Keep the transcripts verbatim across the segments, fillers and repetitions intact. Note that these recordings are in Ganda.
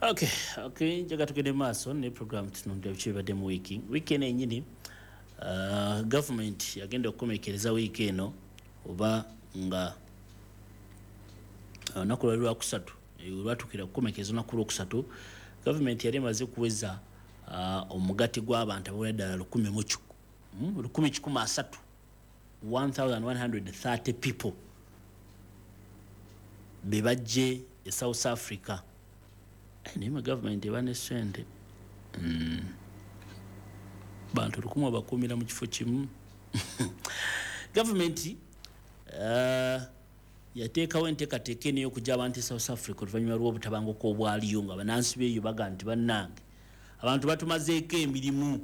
okay okay Njaga tugende maaso ne program, tunonde biki bibadde mu wiiki. Wiiki eno enyini, uh, gavumenti yagenda okukomekereza wiiki eno, oba nga olunaku lwali lwakusatu, lwatukira kukomekereza olunaku lwokusatu, gavumenti yali emaze kuweza uh, omugati gw'abantu abawera ddala lukumi mu hmm, lukumi kikumi asatu, one thousand one hundred thirty people be bajje e South Africa. Eh, naye ma gavumenti eba ne sente. mm. bantu lukumi abakuumira mu kifo kimu. Gavumenti uh, yateekawo enteekateeka eno ey'okujja abantu e South Africa oluvannyuma lw'obutabanguko obwaliyo, nga bannansi beeyo baga nti, "Bannange, abantu batumazeeko emirimu,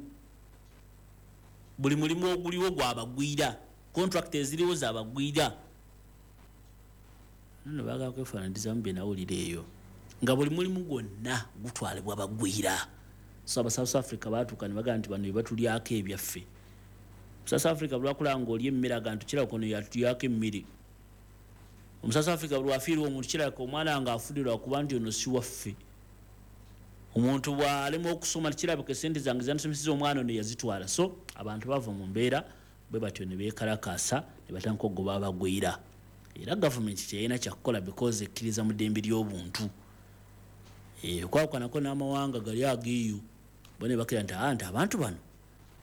buli mulimu oguliwo gwabagwira, contract eziriwo zabagwira." Nno baagala kwefaananyirizamu bye nawulira eyo, nga buli mulimu gwonna gutwalibwa bagwira. So aba South Africa batuuka ne bagamba nti, "Bano bebatulyako ebyaffe." South Africa bwlwakulaba nga oli emmere, aga nti, "Kirabika ono yatulyako emmere." Omu South Africa bwlwafiirwa omuntu, kirabika omwana nga afudde lwakuba nti ono si waffe. Omuntu bwalema okusoma, kirabika esente zange zandisomeseza omwana ono yazitwala. So abantu bava mu mbeera bwe batyo ne beekalakaasa ne batandika okugoba abagwira. Era gavumenti kyeyalina kyakukola, because ekkiriza mu ddembe ly'obuntu. Eh, okwawukanako n'amawanga gali ageeyo, bo ne bakira nti, "Ah, nti abantu bano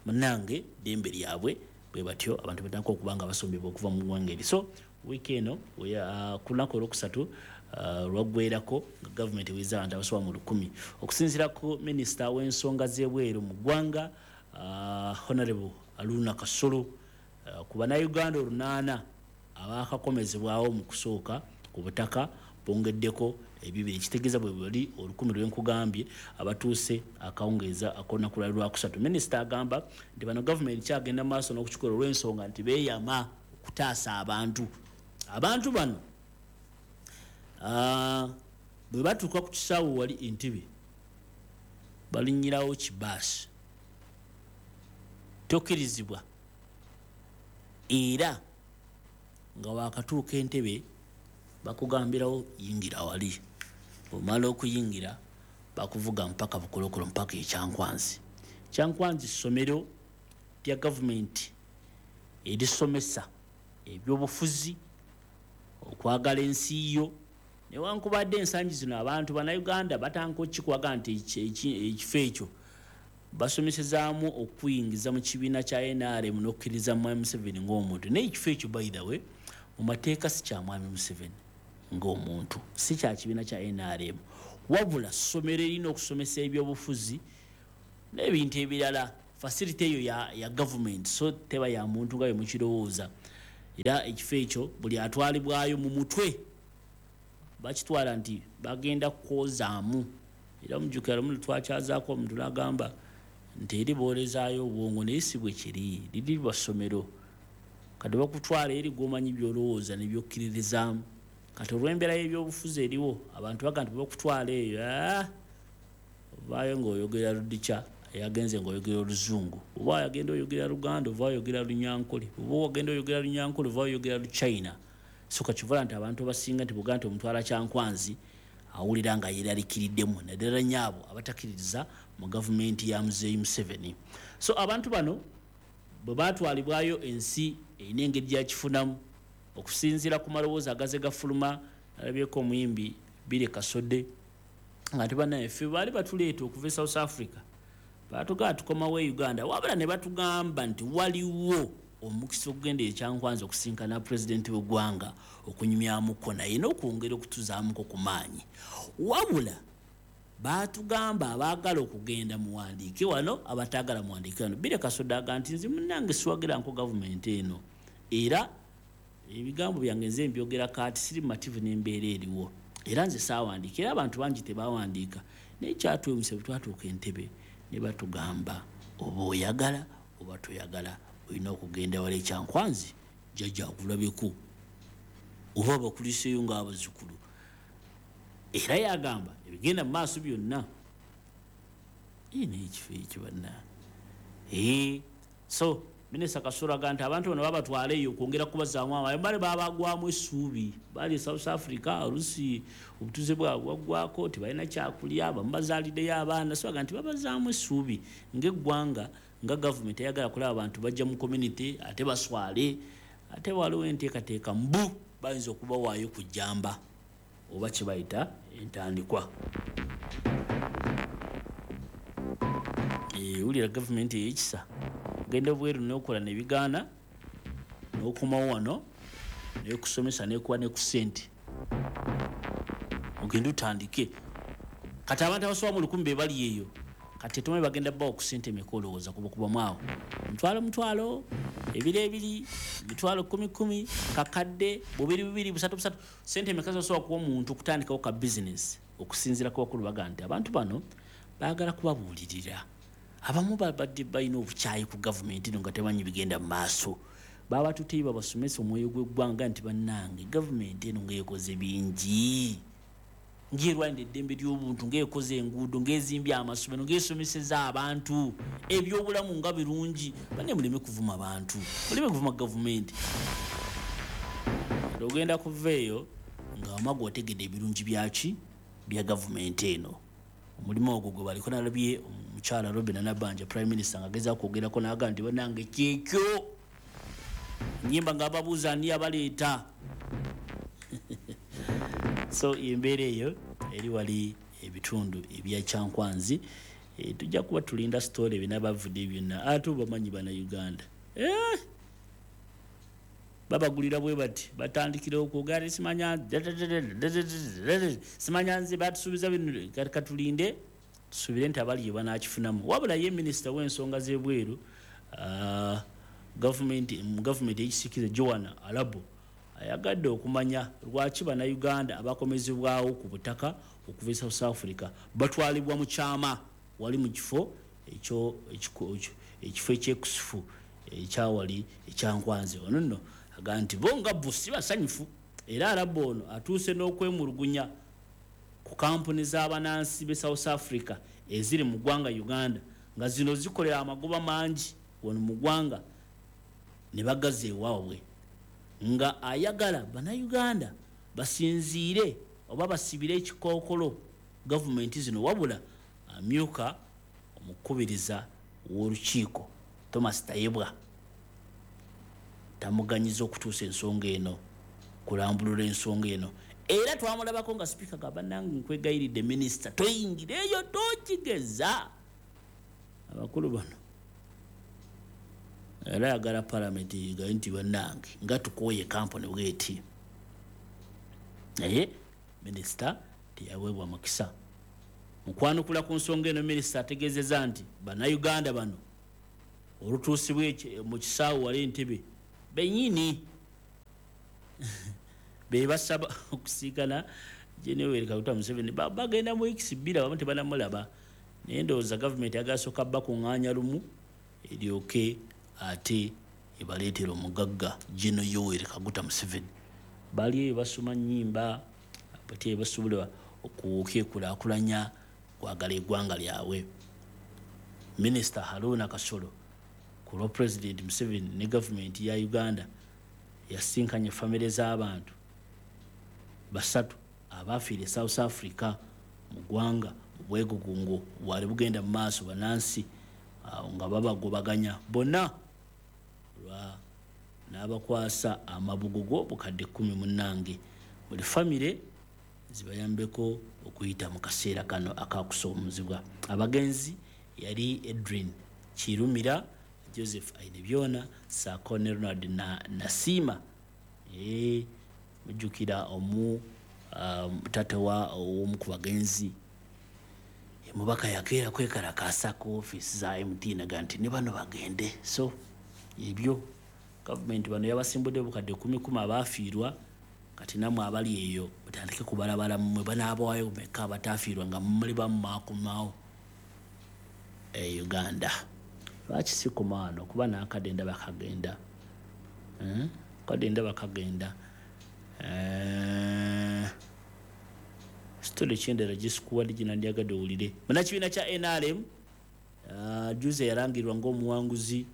munange ddembe lyabwe." Bwe batyo abantu batandika okuba nga basombebwa okuva mu ggwanga eri. So wiiki eno, ah, ku lunaku olwokusatu ah, lwaggwerako nga gavumenti eweza abantu abasoba mu lukumi. Okusinziira ku minisita w'ensonga z'ebweru mu ggwanga, ah, Honorable Haruna Kasolo, ku Bannayuganda olunaana abakakomezebwawo mu kusooka ku butaka, bongeddeko ebibiri, ekitegeeza bwe bali olukumi lwenkugambye abatuuse akawungeeza ak'olunaku lwali lwakusatu. Minisita agamba nti bano gavumenti kyagenda maaso n'okukikola olw'ensonga nti beeyama okutaasa abantu. Abantu bano ah, bwe batuuka ku kisaawe wali Entebbe, balinnyirawo kibaasi, tokkirizibwa, era nga wakatuuka Entebbe bakugambirawo, "Yingira wali." Omala okuyingira, bakuvuga mpaka Bukolokolo, mpaka Ekyankwanzi. Kyankwanzi ssomero lya gavumenti erisomesa ebyobufuzi, okwagala ensi yo. Newankubadde ensangi zino abantu Bannayuganda batandika okukikwaga nti ekifo ekyo basomesezaamu okuyingiza mu kibiina kya N R M n'okukkiriza Mwami Museveni ng'omuntu, naye ekifo ekyo, by the way, mu mateeka si kya Mwami Museveni ng'omuntu, si kya kibiina kya N R M, wabula ssomero erina okusomesa ebyobufuzi n'ebintu ebirala. Facility eyo ya, ya gavumenti, so teba ya muntu nga bwe mukirowooza. Era ekifo ekyo buli atwalibwayo mu mutwe bakitwala nti bagenda kwozaamu. Era mujjukira lumu twakyazaako omuntu n'agamba nti eri boolezaayo obwongo, naye si bwe kiri. Liri lwa ssomero, kati bakutwala eri gwomanyi byolowooza nebyokkiririzaamu. Kati olw'embeera y'ebyobufuzi eriwo, abantu baga nti bakutwala eyo, ah, ovaayo ng'oyogera Ludikya, yagenze ng'oyogera Oluzungu, oba yagenda oyogera Luganda, ova oyogera Lunyankole, oba wagenda oyogera Lunyankole, ova oyogera Luchina. So kakivula nti abantu abasinga nti buga nti omutwala Kyankwanzi awulira nga yeraliikiriddemu, naddala nnyo abo abatakkiririza mu gavumenti ya Muzeeyi Museveni. So abantu bano bwe batwalibwayo, ensi erina engeri gyakifunamu okusinziira ku maloboozi agaze gafuluma. Nalabyeko omuyimbi Bire Kasodde nga nti, "Banaye, ffe baali batuleeta okuva e South Africa, batugamba tukomawo e Uganda, wabula ne batugamba nti waliwo omukisa okugenda Ekyankwanzi okusinkana pulezidenti w'eggwanga, okunyumyamuko naye n'okwongera okutuzaamuko ku maanyi. Wabula batugamba abaagala okugenda muwandiike wano, abataagala muwandiike wano." Bire Kasodde aga nti, "Nze munnange siwagiranko gavumenti eno, era ebigambo byange nze mbyogera kaati, siri mumativu n'embeera eriwo, era nze saawandiika, era abantu bangi tebawandiika. Naye kyatwewunyisa, bwe twatuuka Entebbe ne batugamba oba oyagala oba toyagala olina okugenda wala Ekyankwanzi, jjajja akulabeko oba bakuliseeyo ng'abazzukulu." Era yagamba ebigenda mu maaso byonna naye ekifo ekyo banna. So Minisita Kasolo agamba nti abantu bano babatwala eyo okwongera kubazaamu amaanyi, bali babagwamu essuubi, bali South Africa, oluusi obutuuze bwabwe bwaggwako, tebalina kyakulya, abamu bazaaliddeyo abaana. So agamba nti babazaamu essuubi ng'eggwanga, nga gavumenti eyagala kulaba abantu bajja mu community ate baswale, ate waliwo enteekateeka mbu bayinza okubawaayo ku jjamba oba kye bayita entandikwa. Wulira gavumenti ey'ekisa, ogenda obweru n'okola ne bigaana, n'okomawo wano n'ekusomesa n'ekuwa ne ku ssente, ogende otandike. Kati abantu abasoba mu lukumi be bali eyo, kati tetumanyi bagenda bbawa ku ssente emeka, olowooza kubakubamu awo mutwalo mutwalo, ebiri ebiri, mitwalo kumi kumi, kakadde, bubiri bubiri, busatu busatu. Ssente emeka z'osobola kuwa omuntu okutandikawo ka bizinesi? Okusinziira ku bakulu bagamba nti abantu bano baagala kubabuulirira. Abamu babadde balina obukyayi ku gavumenti eno nga tebamanyi bigenda mu maaso, babatuteyo babasomesa omwoyo gw'eggwanga nti bannange gavumenti eno ng'ekoze bingi, ng'erwanira eddembe ly'obuntu, ng'ekoze enguudo, ng'ezimbye amasomero, ng'esomeseza abantu ebyobulamu nga birungi. Banne muleme kuvuma bantu, muleme kuvuma gavumenti. Ogenda kuva eyo nga wama gw'otegedde ebirungi byaki bya gavumenti eno. Omulimu ogwo gwe baliko, nalabye omukyala Robinah Nabbanja Prime Minister ng'agezaako kwogerako n'agamba nti bannange kyekyo, ennyimba ng'ababuuza ani abaleeta. So embeera eyo eri wali ebitundu ebya Kyankwanzi. E, tujja kuba tulinda story ebinabavudde byonna, ate obamanyi bannayuganda eh! babagulira bwe bati, batandikira okwogera simanya simanya nze batusuubiza bino. Katulinde tusuubire nti abali banakifunamu. Wabula ye minisita w'ensonga z'ebweru uh, gavumenti mu gavumenti ey'ekisiikirize Joan Arabo ayagadde okumanya lwaki bannayuganda abakomezebwawo ku butaka okuva e South Africa batwalibwa mu kyama wali mu kifo ekyo ekifo ekyekusifu ekyawali ekyankwanzi. Ono nno agamba nti bo nga bo si basanyufu, era Arabo ono atuuse n'okwemulugunya ku kampuni z'abannansi b'e South Africa eziri mu ggwanga Uganda nga zino zikolera amagoba mangi wano mu ggwanga ne bagaza ewaabwe, nga ayagala bannayuganda basinziire oba basibire ekikookolo gavumenti zino. Wabula amyuka omukubiriza w'olukiiko Thomas Tayebwa tamuganyiza okutuusa ensonga eno, kulambulula ensonga eno. Era twamulabako nga sipiika gamba bannange nkwegayiridde minisita toyingira eyo tokigeza. Abakulu bano era ayagala palamenti egaye nti bannange nga tukooye kampuni bweti, naye minisita teyaweebwa mukisa. Mu kwanukula ku nsonga eno, minisita ategeezezza nti bannayuganda bano olutuusibwa mu kisaawe wali Entebbe bennyini be basaba okusiikana Gen. Kaguta Museveni, bagenda mu wiikisi bbiri abamu tebanamulaba, naye ndowooza gavumenti agasooka bakuŋŋaanya lumu eryoke ate ebaleetera omugagga Gen. Yoweri Kaguta Museveni. Bali eyo basoma nnyimba ate basobola okwekulaakulanya kwagala eggwanga lyabwe. Minisita Haruna Kasolo ku lwa Pulezidenti Museveni ne gavumenti ya Uganda yasinkanye famire z'abantu basatu abaafiira e South Africa mu ggwanga mu bwegugungo bwali bugenda mu maaso, bannansi nga babagobaganya bonna lwa n'abakwasa amabugo bukadde kkumi munnange buli famire zibayambeko okuyita mu kaseera kano akakusoomozebwa. Abagenzi yali Edwin Kirumira, Joseph Ainebyona ssaako ne Ronald na Nasiima. E, mujjukira omu um, taata wa omu ku bagenzi omubaka yakeera kwekalakaasa ku ofiisi za M T N aga nti ne bano bagende. So ebyo gavumenti bano yabasimbudde obukadde kumi kumi abaafiirwa, kati nammwe abali eyo mutandike kubalabala mmwe banaabawayo meka abataafiirwa nga muli bamumaakumaawo e Uganda. Lwaki si kumaano kuba n'akadde ndaba kagenda, kadde ndaba kagenda. Sitole kyendera gisikuwadde gye nandyagadde owulire. Munnakibiina kya N R M juzi yalangirirwa ng'omuwanguzi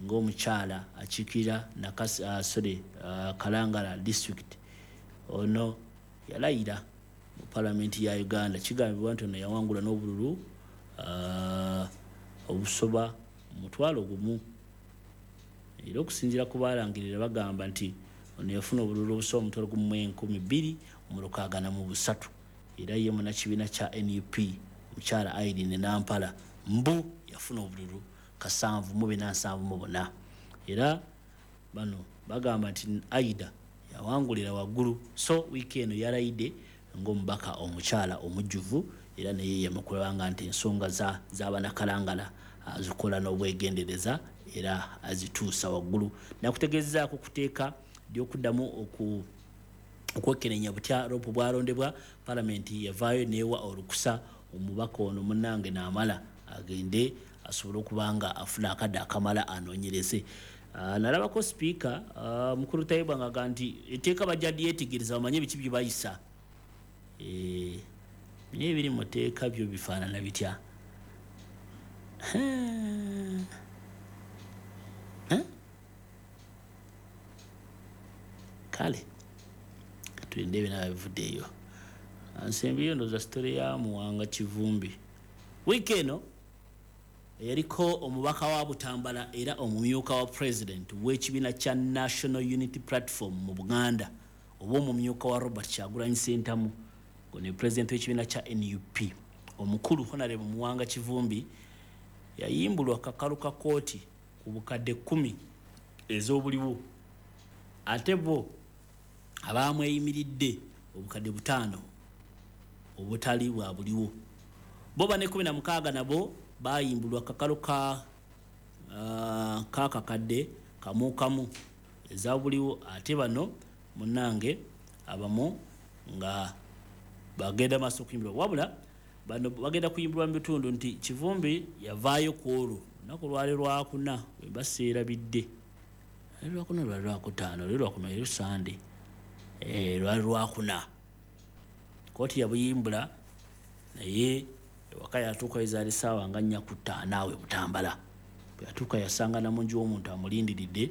ng'omukyala akiikirira Nakasi, uh, sorry, uh, Kalangala district. Ono yalayira mu palamenti ya Uganda. Kigambibwa nti ono yawangula n'obululu uh, obusoba mutwalo gumu, era okusinziira ku baalangirira bagamba nti ono yafuna obululu obusoba omutwalo gumu mu enkumi bbiri mu lukaaga na mu busatu. Era ye munnakibiina kya N U P mukyala Irene Nampala mbu yafuna obululu kasanvu mu bina nsanvu mu buna. Era bano bagamba nti Aida yawangulira waggulu. So wiiki eno yalayidde ng'omubaka omukyala omujjuvu, era naye yemukulabanga nti ensonga za z'abanakalangala azikola n'obwegendereza era azituusa waggulu. Nakutegeezaako kuteeka ly'okuddamu oku okwekenneenya butya Ropu bw'alondebwa. Palamenti yavaayo n'ewa olukusa omubaka ono munnange n'amala agende asobole okuba nga afuna akadde akamala anoonyereze. Uh, nalabako sipiika uh, mukulu Tayebwa ng'agamba nti etteeka bajja lyetegereza bamanye biki bye bayisa. Eh, naye ebiri mu tteeka byo bifaanana bitya? Kale tulinde ebinaaba bivuddeeyo. Nsembiyo ndowooza sitole ya Muwanga Kivumbi. Wiiki eno yaliko omubaka wa Butambala era omumyuka wa president w'ekibiina kya National Unity Platform mu Buganda, oba omumyuka wa Robert Kyagulanyi Ssentamu, ono president w'ekibiina kya N U P, omukulu Honorable Muwanga Kivumbi yayimbulwa kakalu ka kkooti ku bukadde kkumi ez'obuliwo, ate bo abaamweyimiridde obukadde butaano obutali bwa buliwo. Bo bane kkumi na mukaaga nabo bayimbulwa kakalu ka uh, kakakadde kamu kamu eza buliwo, ate bano munnange abamu nga bagenda maaso okuyimbulwa. Wabula bano bagenda kuyimbulwa mu bitundu nti Kivumbi yavaayo ku olwo olunaku lwali lwakuna bwe baseerabidde, lwakuna lwali lwakutaano, lwali lwakuna eri Sande, eh, lwali lwakuna. Kkooti yabuyimbula naye ewaka yatuuka ezaali ssaawa nga nnya ku ttaano awo e Butambala. Bwe yatuuka yasanga namungi w'omuntu amulindiridde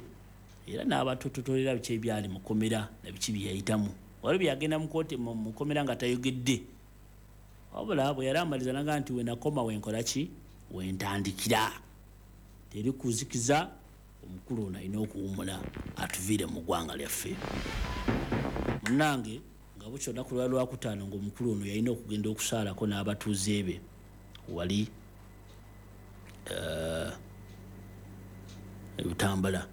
era n'abatototolera biki ebyali mu kkomera na biki bye yayitamu. Waliwo bye yagenda mu kkooti mu kkomera nga tayogedde, wabula bwe yali amaliza n'agamba nti we nakoma we nkola ki, we ntandikira. Teri kuzikiza, omukulu ono alina okuwummula atuviire mu ggwanga lyaffe. Munnange nga bukya olunaku lwali lwakutaano ng'omukulu ono yalina okugenda okusaalako n'abatuuze be wali e Butambala.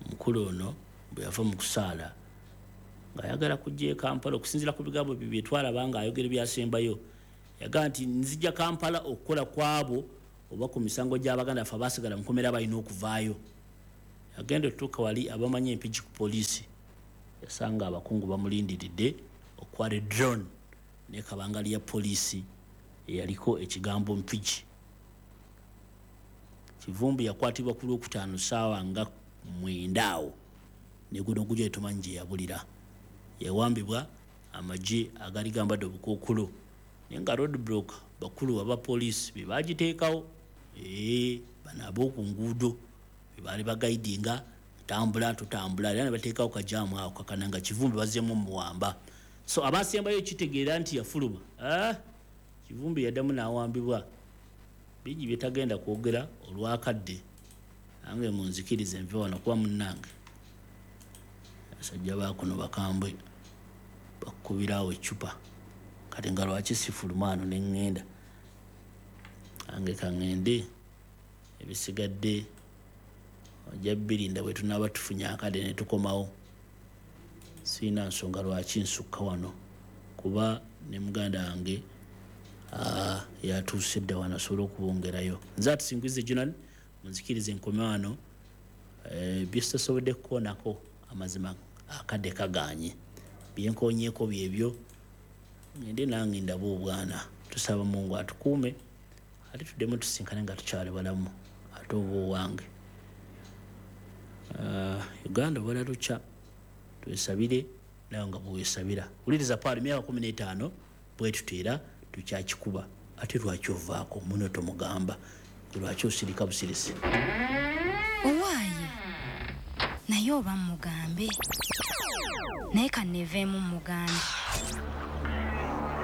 Omukulu ono bwe yava mu kusaala ng'ayagala kujja e Kampala, okusinziira ku bigambo bye bye twalaba ng'ayogera ebyasembayo, yagamba nti nzija Kampala okukola ku abo oba ku misango gy'Abaganda baffe abaasigala mu kkomera balina okuvaayo. Yagenda otuuka wali abamanyi Empigi ku poliisi, yasanga abakungu bamulindiridde okwala drone ne kabangali ya poliisi eyaliko ekigambo Mpigi. Kivumbi yakwatibwa ku Lwokutaano ssaawa nga mwenda awo ne guno gujja tumanyi gye yabulira. Yawambibwa amagye agaali gambadde obukookolo, naye nga road block bakulu aba poliisi be baagiteekawo, ee bano ab'oku nguudo be baali bagayidinga tambula tutambula, era ne bateekawo kajaamu awo kakana nga Kivumbi bazzeemu omuwamba. So abasembayo kitegeera nti yafuluma. Ah, Kivumbi yaddamu n'awambibwa. Bingi bye tagenda kwogera olwakadde, nange munzikirize nve wano kuba munnange abasajja baakuno bakambwe bakubiraawo eccupa, kati nga lwaki sifuluma wano ne ŋŋenda? Nange ka ŋŋende, ebisigadde ojja birinda bwe tunaaba tufunye akadde ne tukomawo. Sirina nsonga lwaki nsukka wano kuba ne muganda wange yatuuse dda wano asobole okubongerayo. Nze Atusinguize Jonan, munzikirize nkome wano. Bye sitasobodde kukoonako amazima akadde kagaanye, bye nkoonyeeko byebyo, ngende nange ndabe obwana. Tusaba Mungu atukuume ate tuddemu tusinkane nga tukyali balamu, ate oba owange. Uh, Uganda obala lukya, twesabire nawe nga bwewesabira. Wuliriza Paul emyaka kumi n'etaano bwetuteera tukyakikuba, ate lwaki ovaako muno tomugamba, lwaki osirika busirisi? Owaaye, naye oba mugambe, naye kanneeveemu mugambe.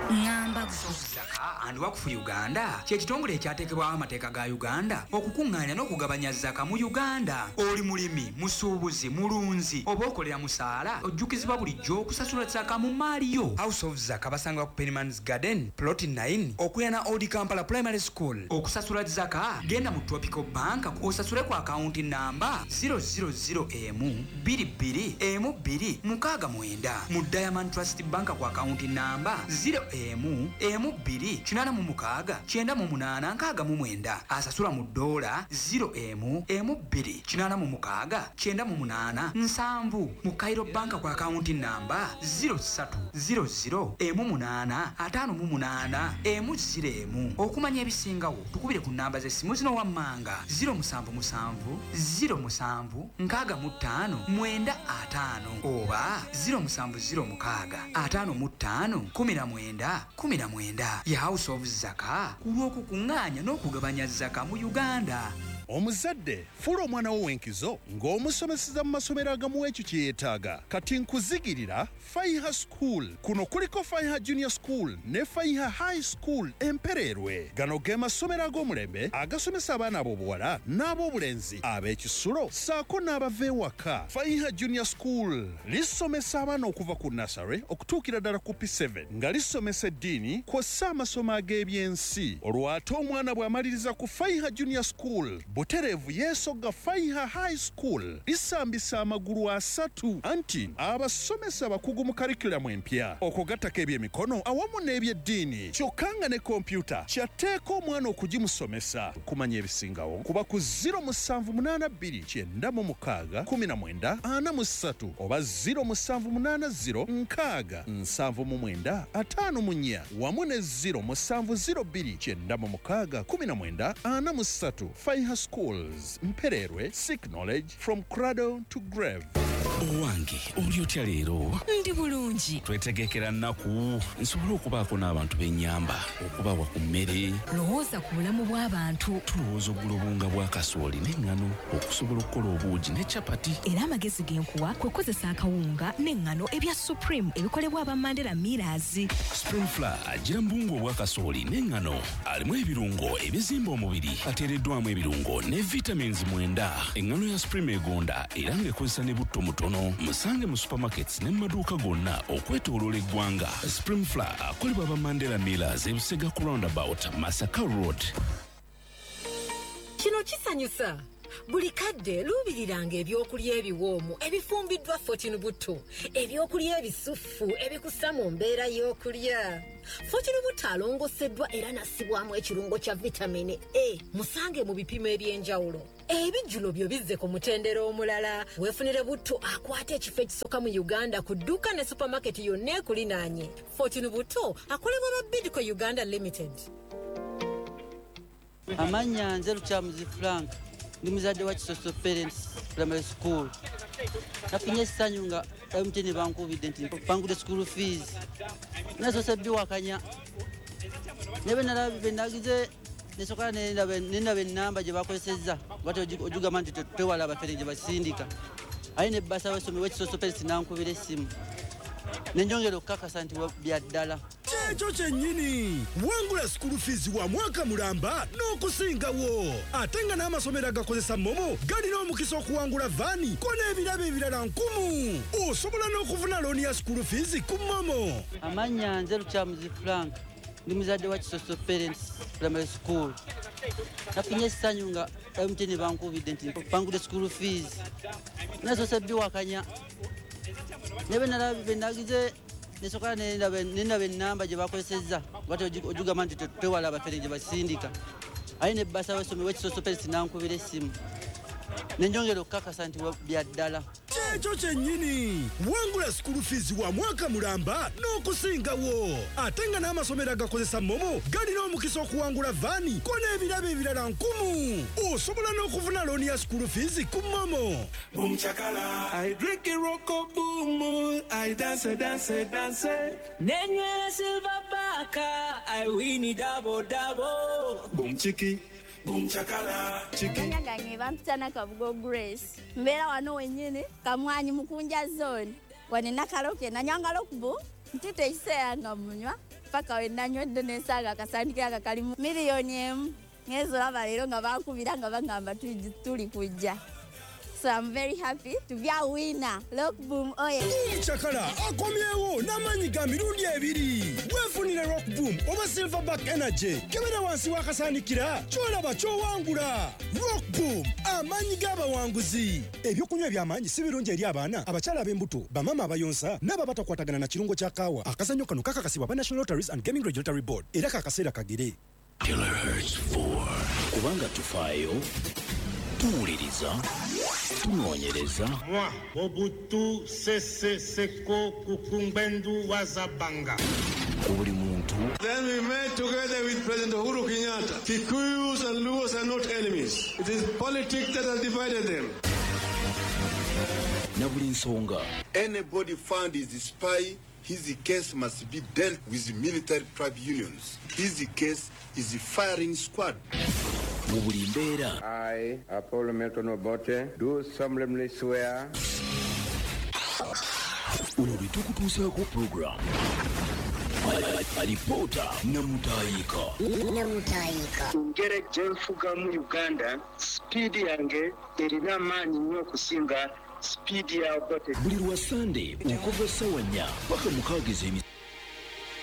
Ŋŋamba Zaka and Wakfu Uganda kye kitongole ekyateekebwawo amateeka ga Uganda okukuŋŋaanya n'okugabanya zaka mu Uganda. Oli mulimi, musuubuzi, mulunzi oba okolera musaala, ojjukizibwa bulijjo okusasula zaka mu mmaali yo. House of Zaka basangibwa ku Pennyman's Garden plot nine okuliraana Old Kampala Primary School. Okusasula zaka genda mu Tropical Bank osasule ku akawunti namba zero zero zero emu bbiri bbiri emu bbiri mukaaga mwenda, mu Diamond Trust Bank ku akawunti namba zero emu emu bbiri kinaana mu mukaaga kyenda mu munaana nkaaga mu mwenda. Asasula mu ddoola zero emu emu bbiri kinaana mu mukaaga kyenda mu munaana nsanvu, mu Cairo Bank ku akawunti namba zero ssatu zero zero emu munaana ataano mu munaana emu zero emu. Okumanya ebisingawo tukubire ku namba z'essimu zino wammanga zero musanvu musanvu zero musanvu nkaaga mu ttaano mwenda ataano oba zero musanvu zero mukaaga ataano mu ttaano kumi na mwenda kumi na mwenda. Ye House of Zaka ku lw'okukuŋŋaanya n'okugabanya zaka mu Uganda. Omuzadde fuula omwana wo w'enkizo ng'omusomeseza mu masomero agamuwa ekyo kye yeetaaga. Kati nkuzigirira Faiha School. Kuno kuliko Faiha Junior School ne Faiha High School Empereerwe. Gano ge masomero ag'omulembe agasomesa abaana ab'obuwala n'ab'obulenzi ab'ekisulo ssaako n'abava ewaka. Faiha Junior School lisomesa abaana okuva ku nursery okutuukira ddala ku P seven nga lisomesa eddiini kw'ossa amasomo ag'ebyensi. Olwo ate omwana bw'amaliriza ku Faiha Junior School butereevu yeesogga Faiha High School lisambisa amagulu asatu anti abasomesa abakugu mu curriculum empya okugattako ebyemikono awamu n'ebyeddiini, kyokka nga ne kompyuta kyatteeka omwana okugimusomesa. Kumanya ebisingawo kuba ku zero musanvu munaana bbiri kyenda mu mukaaga kumi na mwenda ana mu ssatu oba zero musanvu munaana zero nkaaga nsanvu mu mwenda ataano mu nnya wamu ne zero musanvu zero bbiri kyenda mu mukaaga kumi na mwenda ana mu ssatu. Faiha Schools, Mpererwe, seek knowledge from cradle to grave. Owange, oli otya leero? Ndi bulungi. Twetegekera nnaku nsobole okubaako n'abantu b'ennyamba okubawa ku mmere. Lowooza ku bulamu bw'abantu. Tulowooza okugula obuwunga bwa kasooli n'eŋŋano okusobola okukola obuugi ne capati. Era amagezi ge nkuwa kwe kukozesa akawunga n'eŋŋano ebya Supreme ebikolebwa aba Mandela Millers. Supreme Flour agira mu buwunga obwa kasooli n'eŋŋano alimu ebirungo ebizimba omubiri, ateereddwamu ebirungo ne vitamins mwenda. Eŋŋano ya Supreme egonda era ng'ekozesa ne butto mutono. Musange mu supermarkets ne mu maduuka gonna okwetooloola eggwanga. Supreme Flour akolebwa aba Mandela Millers ebusega ku roundabout Masaka Road. Kino kisanyusa. Buli kadde luubiriranga ebyokulya ebiwoomu ebifumbiddwa Fortune Butto, ebyokulya ebisufu ebikussa mu mbeera y'okulya. Fortune Butto alongoseddwa era n'assibwamu ekirungo kya vitamini A. Musange mu bipimo eby'enjawulo. Ebijjulo byo bizze ku mutendera omulala. Weefunire butto akwata ekifo ekisooka mu Uganda ku dduuka ne supermarket yonna ekulinaanye. Fortune Butto akolebwa ba Bidco Uganda Limited. Amannya nze Lukyamuzi Frank, ndi muzadde wa Kisoso Parents Primary School. Nafunye essanyu nga M T N bankubidde nti bangudde school fees. Nasoose biwakanya. Ne bwe nagize nesooka nendaba ennamba gye bakozesezza bati ogigamba nti twewala abafere gye basindika. Aye ne bbasa w'essomero w'Ekisoso Parents n'ankubira essimu. Ne njongera okukakasa nti bya ddala. Kyekyo kyennyini, wangula school fees wa mwaka mulamba n'okusingawo. Ate nga n'amasomero agakozesa MoMo galina omukisa okuwangula vaani ko n'ebirabo ebirala nkumu. Osobola n'okufuna looni ya school fees ku MoMo. Amannya nze Lukyamuzi Frank, ndi muzadde wa Kisoso Parents Primary School. Nafunye essanyu nga M T N bankubidde nti bangudde school fees. Nasoose biwakanya. Ne bwe nagize nesooka nendaba ennamba gye bakozesezza bati ogigamba nti twewala abafere gye basindika. Aye ne bbasa w'essomero w'Ekisoso Parents n'ankubira essimu. Ne njongera okukakasa nti bya ddala. Kyekyo kyennyini, wangula school fees wa mwaka mulamba n'okusingawo. Ate nga n'amasomero agakozesa MoMo galina omukisa okuwangula vaani ko n'ebirabo ebirala nkumu. Osobola n'okufuna looni ya school fees ku MoMo. Boom chakala, I drink it roko boom, I dance dance dance. Nenywera silver baka, I win it double double. Boom chiki, Boom chakala. Amanya gange bampita Nakabugo Grace. Mbeera wano wennyini Kamwanyi Mukunja zone. Wano Nakaloke nanywanga Rockboom ntute ekiseera nga munywa paka we nanywedde n'ensanga akasandikira nga kalimu miliyoni emu. Ngenze olaba leero nga bankubira nga bagamba tuli kujja. So I'm very happy to be a winner. Rockboom oye. Boom Chakala akomyewo n'amaanyi ga mirundi ebiri. Weefunire Rockboom oba Silverback Energy. Kebera wansi w'akasaanikira ky'olaba ky'owangula. Rockboom amaanyi g'abawanguzi. Ebyokunywa eby'amaanyi si birungi eri abaana, abakyala ab'embuto, bamaama abayonsa n'abo abatakwatagana na kirungo kya kaawa. Akazannyo kano kakakasibwa aba National Lotteries and Gaming Regulatory Board era kakaseera kagere. Kilohertz four. Kubanga tufaayo, tuwuliriza, tunoonyereza. Moi, Mobutu Sese Seko Kukumbendu Wazabanga. Ku buli muntu. Then we met together with President Uhuru Kenyatta. Kikuyus and Luos are not enemies. It is politics that has divided them. Na buli nsonga. Anybody found is a spy, his case must be dealt with military tribunals. His case is a firing squad. Mu buli mbeera. I, Apollo Milton Obote, do solemnly swear. Olwo lwe tukutuusaako program. Alipoota Namutayika. Namutayika. Ngeri gye nfugamu Uganda, sipiidi yange erina amaanyi nnyo okusinga sipiidi ya Obote. Buli lwa Sande okuva ssaawa nnya paka mukaaga ez'emisana.